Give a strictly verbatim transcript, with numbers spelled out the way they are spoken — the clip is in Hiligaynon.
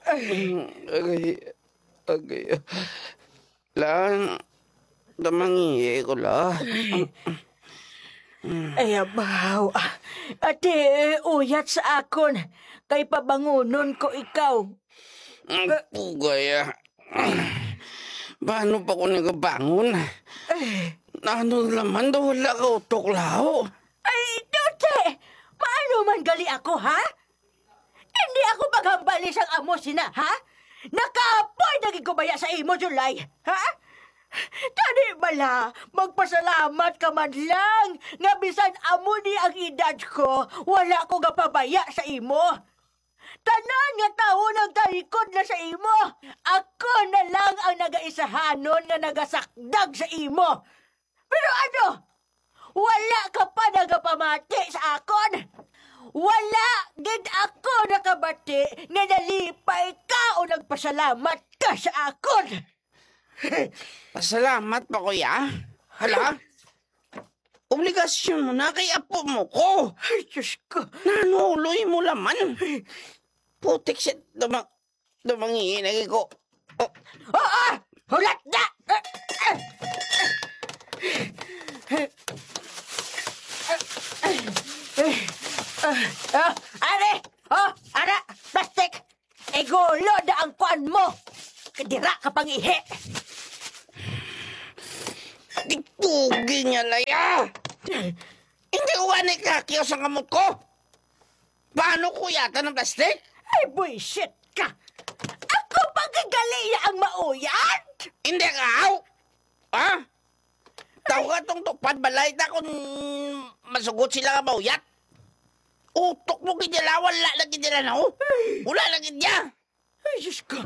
Ay. Mm, agay, agay. Lang, damangi ko la. Ay, abaw. Ate, uyat sa akon, kay pabangunon ko ikaw. Ang pugay, ah. Paano pa ko nagabangon? Eh. Ano naman daw wala ka utok, lao? Ay, Dutse! Paano man gali ako, ha? Hindi ako maghambali sang amo sina, ha? Nakapoy na gid ko baya sa imo, July, ha? Tani bala, magpasalamat ka man lang nga bisan amo ni ang edad ko, wala ko gapabaya sa imo. Tanan nga tawo nagtalikod na sa imo. Ako na lang ang nagaisahanon nga nagasakdag sa imo. Pero ano? Wala ka pa nagapamati sa akon. Wala gid ako nakabati nga nalipay ka o nagpasalamat ka sa akon. Pasalamat pa, kuya. Hala? Obligasyon mo na kay apo mo ko. Ay, Diyos ko. Nanuloy mo laman. Putik siya, damang, damangi lagi ko. Oh. Oo! Hulat na! Oh, are! Oh, ara! Plastic! Igulo na ang kuan mo! Kadira ka pangihi! Di pugi niya, Laya! Hindi ko ani kakyo sa kamot ko! Paano ko yata ng plastic? Ay, buisit ka! Ako pa gigali ang mauyat! Hindi ka, aw! Ha? Tawag atong tupad balay ta kung masugot sila nga mauyat. Utok mo gid nila, wala na gid nila, no? Ay. Wala na gid niya. Ay, Diyos ko.